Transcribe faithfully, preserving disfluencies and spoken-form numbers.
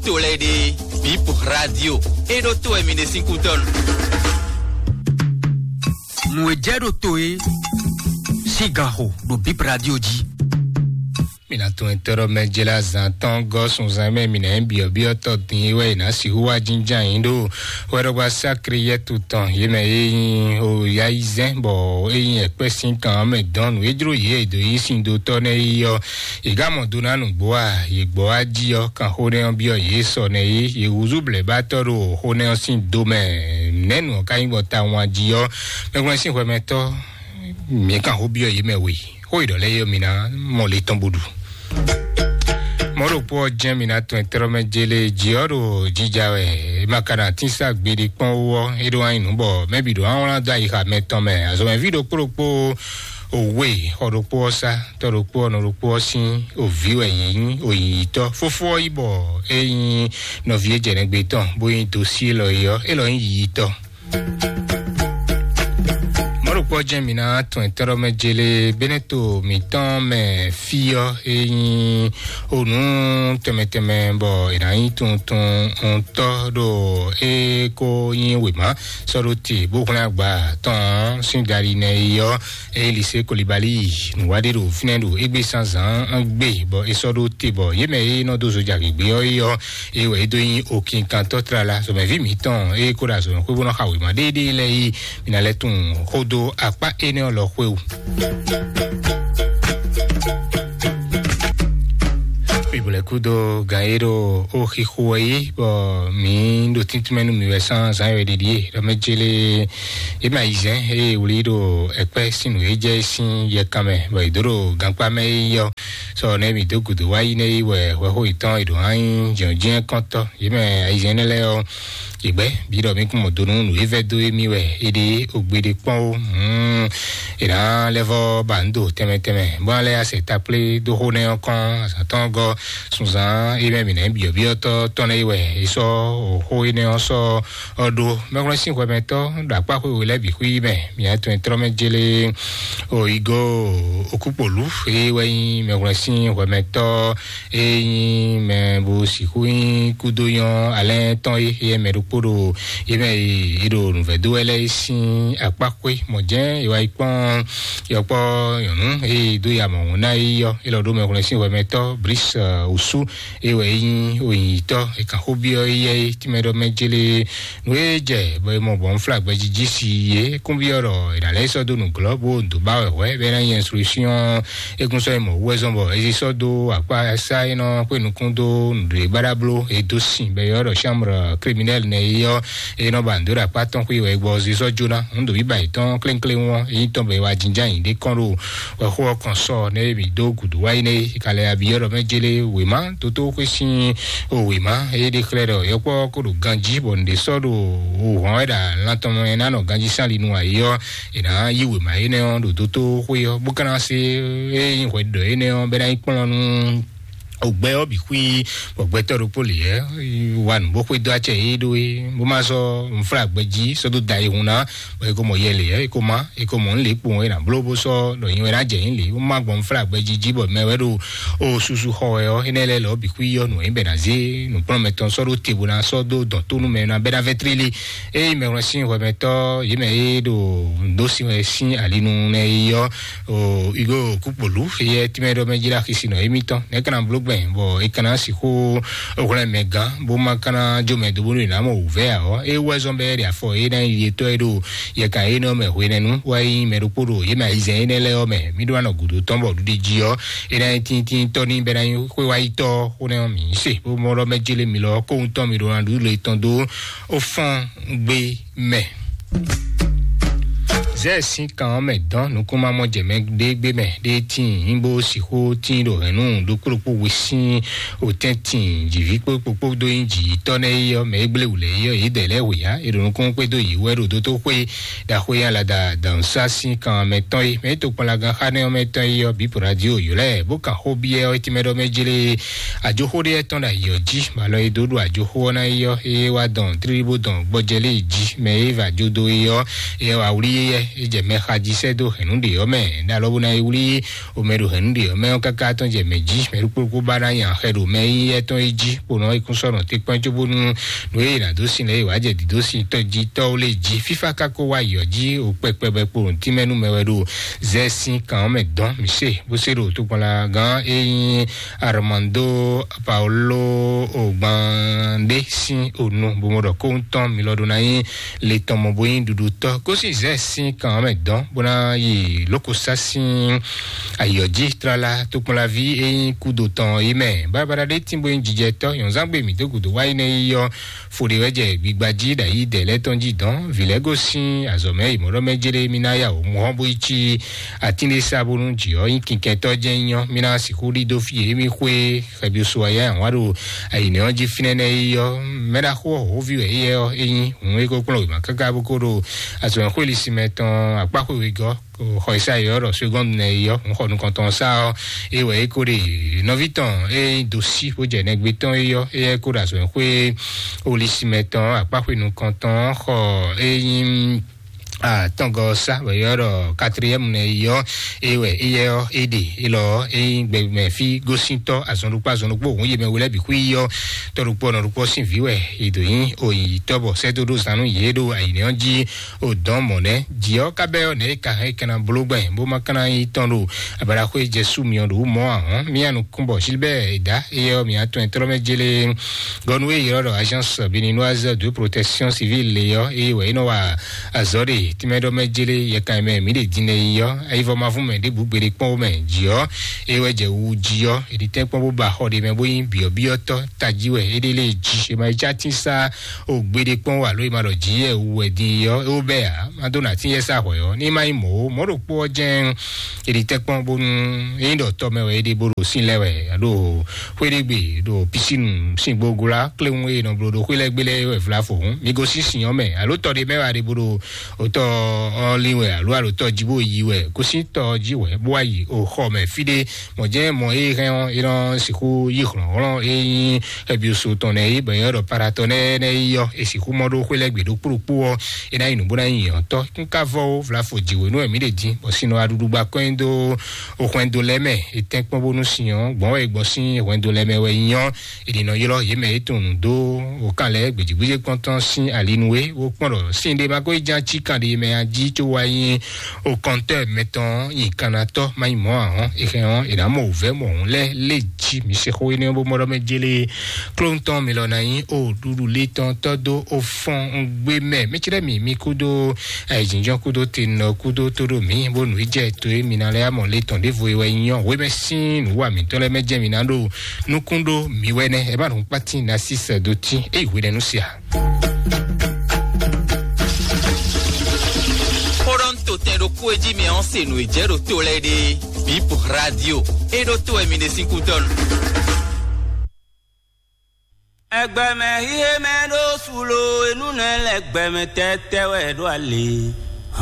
to lɛ́ɛ ɖe, Bip Radio. E ɖo to wɛ mi ɖe sín kútɔ́ nu. Nǔ e jɛ ɖo to e sín gan xo ɖo Bip Radio jí. Mina tun etɔ́ɖɔ mɛ jela zan tɔn gɔ́ sunzan mɛ mina byɔ̌byɔ́ tɔ dín wɛ ná sixú wá jínján yín ɖo wɛɖɔgba sákri yɛtu tɔn yě mɛ e nyí o ya yi zɛn bɔ e nyí ɛkpɛ sín kan mɛ dɔn nǔ e jló yě e dǒ yí sin dó tɔ nɛ yi ɔ́. Yě gá mɔ do ná nǔgbó a? Yě gbɔ wá jí ɔ́, kan xó nɛ́ ɔ́ byɔ́ yě sɔ nɛ́ yí. Yě húzú blɛ̌bátɔ́ ɖo xó nɛ́ ɔ́ sín do mɛ. Nɛ̌ nǔ ɔ́ ka nyí bɔ tawun a jí ɔ́? Mɛgbɔn sín xwɛmɛtɔ́, mǐ kan xó byɔ́ yě mɛ we. Xó e ɖɔ lɛ́ɛ é ɔ́, mi ná mɔ le tɔn bó ɖu. Mɔ̌ ɖokpó ɔ́ jɛ́n mi ná tɔn tɛ́rɔ́ mɛ jélé jí ɔ́ ɖo jija wɛ. É ma ka ná tín sá gbeɖé kpɔ́n wú ɔ́, é ɖó wá nyí nǔ bɔ mɛbí ɖo wá wlán dó ayixa mɛ tɔn mɛ. Azɔ̌mɛví ɖokpó ɖokpó òwe xɔ ɖokpó ɔ́ sá, tɔ́ ɖokpó ɔ́ nɔ ɖokpó ɔ́ sín òví wɛ yě nyí, òyìyítɔ́. Fófó ɔ́ yí bɔ é nyí nɔví e jɛ nɛgbé tɔn, bó nyí dosí élɔ́ é ɔ́, élɔ́ nyí yiyítɔ́. Mɔ̌ɖokpɔ́ jɛ́n mi ná tɔn tɔ́ɖɔmɛ jélé Bɛ́nɛ́to mǐtɔn mɛ fí ɔ́, é nyí onú tɛnmɛ tɛnmɛ bɔ è nǎ nyí tuntun ntɔ́ ɖo é kó nyí wěma sɔ́ ɖó te bó xlɛ́n agba tɔn sín dali nɛ é ɔ́, é nyí Lisée Kolibali nǔwaɖé ɖo fínɛ́ ɖo égbé zǎnzǎn gbe bɔ é sɔ́ ɖó te bɔ yě mɛ e nɔ dó zoja gěgbé ɔ́ é ɔ́, é wɛ é dó nyí okinkantɔ́ tlala zɔmɛví mǐtɔn e ko ɖo azɔ̌mɛxwé bó nɔ xa wěma ɖéeɖée lɛ́ɛ yi. Mi ná lɛ́ tunwun xó dó akpá énɛ́ ɔ́ lɔ xwé o. Bibulɛ kúdó gan e ɖo ó xixo wɛ yí bɔ mǐ ɖo tíntímɛ nú mi wɛ sán zǎn yɔ ɖiɖi e ɖɔ mɛ jélé é ma yi zɛn eye wlí ɖo ɛkpɛ sín nǔ e jɛ sín yɛkan mɛ bɔ è dó ɖo gankpá mɛ é yɔ. Sɔ nɛ mǐ dó gǔdo wá yi nɛ yi wɛ hwɛxó yětɔn è ɖǒ hán nyí jɛ̌njɛ́n kɔ́ntɔ́. Yě mɛ ayizɛ́n énɛ́ lɛ́ɛ ɔ́, yě gbɛ́ bǐ ɖɔ mí kún mɔ do nú nǔ e vɛ́ dó émí wɛ é ɖe ó gbe ɖé kpɔ́n ó. È nǎ lɛ́ vɔ́ ba nǔ do tɛnmɛ tɛnmɛ bó ná lɛ́ asɛ takplé dó xó nɛ́ ɔ́ kɔn azǎn tɔn gɔ́ sunzán é mɛ mǐ nɛ́ byɔ̌byɔ́tɔ́ tɔn lɛ́ɛ yi wɛ è sɔ́ xó énɛ́ ɔ́ sɔ́ ɔ́ ɖó. Mɛxwlɛ́n sín hwɛmɛtɔ́ ɖo akpá xwé we lɛ́ɛ bǐ xwí mɛ. Mǐ atɔn e tlɔ́ mɛ jélé o igo okúkpolú é wɛ nyí mɛxwlɛ́n sín hwɛmɛtɔ́ é nyí mɛ bó sixú nyí kúdó nyɔ́ alɛ́ tɔn é é mɛ ɖokpó ɖo é mɛ e ɖo nǔvɛ́ dó wɛ lɛ́ɛ é sín akpá xwé mɔ̌ jɛ́n è wá yi kpɔ́n yɔkpɔ́ nyɔ̌nu e dó ya mɔ̌hun ná é yɔ é lɔ ɖó mɛxwlɛ́n sín hwɛmɛtɔ́ Bris Osu é wɛ é nyí oyǐnyítɔ́ é kan xó byɔ́ éyɛ́ é tínmɛ ɖɔ mɛ jélé nǔ e jɛ bɔ é mɔ bɔ un flá gbɛjijì si yě kúnbyɔ́ ɖɔ è nǎ lɛ́ sɔ́ dó nǔglɔ́ bó dǒ ba wɛ hwɛ̌ bɔ é ná nyí instruction é kún sɔ́ yi mɔ wú wɛ zɔ́n bɔ é sɔ́ dó akpá sá é nɔ xwé nukún dó nǔɖé baɖabló é dó sin bɔ é ylɔ́ ɖɔ chambre criminelle nɛ é ɔ́ é nɔ ba nǔ dó ɖo akpá tɔn xwé wɛ é gbɔ é sɔ́ jóná. Nǔ ɖo bíbá yětɔn klénkléwún ɔ́ é nyí tɔn bɔ é wá jínján nyǐɖé kɔn ɖo wɛxó ɔ́ kɔn sɔ nɛ é bǐ dó gǔdo wá yi nɛ é ka lɛ ya byɔ́ ɖɔ mɛ jélé wěma dótó xwé sín o wěma é ɖe xlɛ́ ɖɔ yɔkpɔ́ ko ɖo ganjí bɔ nǔɖé sɔ́ ɖo o hɔn wɛ ɖo lan tɔn mɛ ná nɔ ganjí sín ali nu ayé ɔ́ è nǎ yí wěma énɛ́ ɔ́ ɖo dótó xwé ɔ́ bó ka ná se é nyí hwɛɖiɖɔ énɛ́ ɔ́ bɛ ná yi kplɔ́n nú ògbɛ ɔ́ bǐ xwí bɔ gbɛtɔ́ ɖokpó lě ɛ wa nǔ bó xwedó acɛ yé ɖó é bó má sɔ́ nǔflágbɛ jí sɔ́ dó da yi hun ná bɔ é ko mɔ yɛ lě ɛ é ko má é ko mɔ nǔ lě kpowun é nǎ bló bó sɔ́ ɖɔ nyi wɛ ná jɛ nyí lě bó má gbɔn nǔflágbɛ jí jí bɔ mɛ wɛ ɖo o susu xɔ wɛ ɔ́ énɛ́ lɛ́ɛ lɔ bǐ xwí ɔ́ nǔ wɛ nyí bɛ ná zé nǔkplɔ́nmɛ tɔn sɔ́ ɖó te bó ná sɔ́ dó dɔn tó nú mɛ ná bɛ ná vɛ́ tlílí. Eye mɛhwlɛ́n sín hwɛmɛtɔ́ yě mɛ e ɖo nǔɖó sin wɛ sín alinu nɛ yi ɔ́, o igo kúkpolú eyɛ tínmɛ ɖɔ mɛ jlá xisi nɔ émítɔn nɛ̌ kana bló gbɛn bɔ é kana sixú hwlɛ́n mɛ gán bó má kana jó mɛ dó bónú è nǎ mɔ wǔvɛ́ ǎ ɔ́, é wú wɛ zɔ́n bɔ é ɖe afɔ é ná yi yetɔ́ e ɖo yɛkan énɛ́ ɔ́ mɛ hwenɛ́nu wá yi mɛ ɖokpó ɖo yě mɛ ayizɛ́n énɛ́ lɛ́ɛ ɔ́ mɛ. Mí ɖó ná nɔ gǔdo tɔn bɔ ɖuɖi jí ɔ́ é ná nyí tíntíntɔ́ ní bɛ́ ná nyí xwé wá yi tɔ́ xó nɛ́ ɔ́ mǐ se bó mɔ ɖɔ mɛ jélé mi lɔ kóhun tɔn mi ɖó ná ɖu le tɔn dó ó fɔ́n gbe mɛ. Zɛ sín kan ɔ́ mɛ dɔn nukúnmamɔ jɛ mɛ ɖé gbé mɛ ɖé tíin nyí bó sixú tíin ɖo hɛ̌nnu ɖokpó ɖokpó we sín òtɛ́ntin jǐví kpókpó kpódó nyí jǐ tɔ́ nɛ́ é ɔ́ mɛ é gblé wǔ lɛ́ɛ é ɔ́ yě dɛ lɛ́ hwe ǎ. È ɖo nukúnnú kpédó yě wɛ ɖo dótó xwé ɖaxó e alada dǎnsá sín kan mɛ tɔn é mɛ é tokpɔnlagan xá nɛ́ ɔ́ mɛ tɔn é ɔ́ bǐ po radio yǒ lɛ́ɛ bó kan xó byɔ́ é tínmɛ ɖɔ mɛ jlé ajoxó ɖé tɔn ɖo ayǐ ɔ́ jí bɔ alɔ e dó ɖo ajoxó ɔ́ ná é ɔ́ é wá dɔn tlílí bó dɔn gbɔjɛ lé jí mɛ é va jó dó é ɔ́ é wá wlí é yɛ É jɛ mɛ xa jí sɛ́ dó hɛ̌nnu ɖě ɔ́ mɛ, ɖó alɔ bó ná yi wlí omɛ ɖo hɛ̌nnu ɖě ɔ́ mɛ ɔ́ káká tɔn jɛ mɛ jí, mɛ ɖokpó ɖokpó ba ná nya xɛ ɖo mɛ nyínyɛ́ tɔn é jí, bó nɔ yi kún sɔ́ nɔ te kpɛ́n cóbónú nǔ e è nǎ dó sin lɛ́ɛ é wǎ jɛ dǐdó sin tɔ́ jí tɔ́ ó lé jí. Fífá ka ko wá yɔ jí o kpɛkpɛ bɔ é kpo nǔtínmɛ nú mɛ wɛ ɖo zɛ sín kan ɔ́ mɛ dɔn mǐ se bó se ɖo tokpɔnlagán e nyí Armando Paulo Ogbande sín onu bó mɔ ɖɔ kóhun tɔn mi lɔ ɖó ná nyí le tɔn mɔ bó nyí ɖuɖutɔ́. Gosín zɛ sín kan ɔ́ mɛ dɔn bó ná yi lókosá sín ayɔ̌ jí tlala tokpɔnlaví e nyí kúdo tɔn yi mɛ. Bábáɖá ɖé tín bó nyí jijɛtɔ́ nyɔ̌nzángbe mǐ dó gǔdo wá yi nɛ yi ɔ́, fo ɖé wɛ jɛ gbigba jí ɖo ayǐ dɛ lɛ́ɛ tɔn jí dɔn. Vǐ lɛ́ɛ gosín azɔ̌ mɛ yi mɔ̌ ɖɔ mɛ jéré mí ná ya wǒ mɔ̌ bó yi cí atín ɖé sá bónú jǐ ɔ́ nyí kinkɛntɔ́ jɛ́n nyí ɔ́, mí ná sixú ɖidó fí e mí xwé xɛbiusu ayá wá ɖo ayǐnɛ ɔ́ jí fínɛ́ nɛ́ é ɔ́. Mɛ ɖaxó ɔ́ hǒví wɛ éyɛ́ ɔ́ é nyí hǔn é ko kplɔ́n wěma káká bó ko ɖo azɔ̌xwéli sinmɛ tɔn akpáxwe wegɔ́ xɔ Isai ɔ́ ɖɔ segɔ́ndu nɛ é ɔ́, hǔn xɔ nukɔntɔn sá ɔ́, é wɛ é ko ɖe nɔví tɔn é nyí dosí bó jɛ nɛgbé tɔn é ɔ́, éyɛ́ ko ɖo azɔ̌xwé woli sinmɛ tɔn akpáxwe nukɔntɔn xɔ é nyí atɔngɔ sá wɛ yɔ ɖɔ quatrième nɛ yɔ é wɛ é yɛ ɔ é ɖe é lɔ é nyí gbɛmɛ fí gósíntɔ azɔn ɖokpó azɔn ɖokpó òun yé mɛ wele bǐ xwí yɔ tɔ ɖokpó ɔnɔ ɖokpó sín vǐ wɛ é dǒ nyí òyìnbó bɔ sɛ́ dó ɖó zan nú yě ɖo ayǐnɛ ɔ́ jí ò dɔn mɔ̌ nɛ́ jǐ ɔ́ ká bɛ́ ɔ́ nɛ̌ é ka hɛn é kɛ́ ná bló gbɛn bó má ka ná nyí tɔn ɖo abalaxwé jɛ sú myɔ ɖo wú mɔ̌ ahɔn mía nukún bɔ Gilbert é dá é yɛ ɔ́ mǐ atɔn ɛ tlɔ́ mɛ jélé gɔnu e ylɔ́ ɖɔ agence béninoise de protection civile lé ɔ́ eye wɛ é nɔ wa azɔ̌ ɖe tínmɛ ɖɔ mɛ jélé yɛkan mɛ mǐ ɖe din lɛ yi ɔ́ ayivɔ ma fún mɛ ɖěbǔ gbeɖé kpɔ́n mɛ jǐ ɔ́ eye wɛ jɛ wu jí ɔ́ èɖi tɛ́nkpɔ́n bó ba xɔ ɖe mɛ bó nyí byɔ̌byɔ́tɔ́ tají wɛ é ɖe lé jí è ma yi cá tín sá o gbeɖé kpɔ́n wà ló è ma ɖɔ jǐ yɛ wu wɛ din yi ɔ́ é wó bɛ́ ǎ má dó nà tín yɛ sá hwɛ̌ ɔ́ ní má nyí mɔ̌ ó mɔ̌ ɖokpó ɔ́ jɛ́n èɖi tɛ́nkpɔ́n bónú é nyí ɖɔ tɔ́ mɛ wɛ é ɖe bó ɖo sín lɛ́ wɛ alo xwéɖégbè ɖo pisínu sín gbogblá kléwún e nɔ bló ɖo xwé lɛ́ɛ gbé lɛ́ɛ wɛ vlafo hǔn mi gosín sin ɔ́ mɛ alo tɔ ɖé mɛ wɛ a ɖe bó ɖo otɔ ɔ́ lin wɛ alo alo tɔ jí bó yi wɛ gosín tɔ jí wɛ bó wá yi o xɔ mɛ fí ɖé mɔ̌ jɛ́n mɔ e hɛn ɔ́ é nɔ sixú yí hlɔ̌nhlɔ́n e nyí xɛbyusu tɔn nɛ é bɔ é ɖɔ paratɔ nɛ nɛ yi ɔ́ é sixú mɔ ɖó xwé lɛ́ɛ gbe ɖokpó ɖokpó ɔ́ é ná yi nǔ bó ná yi nyǐnyɔ́tɔ́ kún ká vɔ ó vlafo jǐwé nú ɛmí ɖe dín bɔ sin nɔ aɖuɖu gba kɔn nyi dó o hwɛndo lɛ́ɛ mɛ. È tɛ́nkpɔ́n bónú sin ɔ́ gbɔn wɛ è gbɔn sín hwɛndo lɛ́ɛ mɛ wɛ nyí ɔ́, è ɖi nɔ ylɔ́ yě mɛ é tunwun dó o kan lɛ́ɛ gbějígbéjé kpɔ́ntɔ́ sín ali nú é bó kpɔ́n ɖɔ sin ɖé ma ko yi ján cí kan ɖé mɛ a jí có wá nyí o kɔntɔ́ mɛtɔn nyi kannatɔ́ má nyí mɔ̌ ǎ hɔn. È hɛn ɔ́, è nǎ mɔ wǔvɛ́ mɔ̌hun lɛ́ɛ lé jí mi se xó énɛ́ bó mɔ ɖɔ mɛ jélé klóntɔn mi lɔ ná nyí o ɖuɖu lé tɔn tɔ́ dó o fɔn un gbé mɛ mɛ cɛ́ mi mi kúdó ayǐjínjɔ́n kúdó tenɔ kúdó tóɖó mǐ bónú í jɛ to e mi ná lɛ́ amɔ lé tɔn ɖěvo e wɛ nyɔ hwemɛ sín nǔwa mǐtɔn lɛ́ɛ mɛ jɛ mi ná ɖo nukún ɖó mi wɛ nɛ ɛ má nǔ kpátín ná sí sɛ dó tín é yi hwenɛ́nu sia. Xó ɖɔ ń to tɛn ɖokpó e jí mi ɔ́ se nǔ e jɛ ɖo to lɛ́ɛ ɖe. Bip radio. E ɖo to wɛ mi ɖe sín kútɔ́nu. Ẹgbẹmẹ híhé mɛ ɖó sulo enú nɛ lɛ gbẹmɛ tɛtɛ wɛ ɖó alě.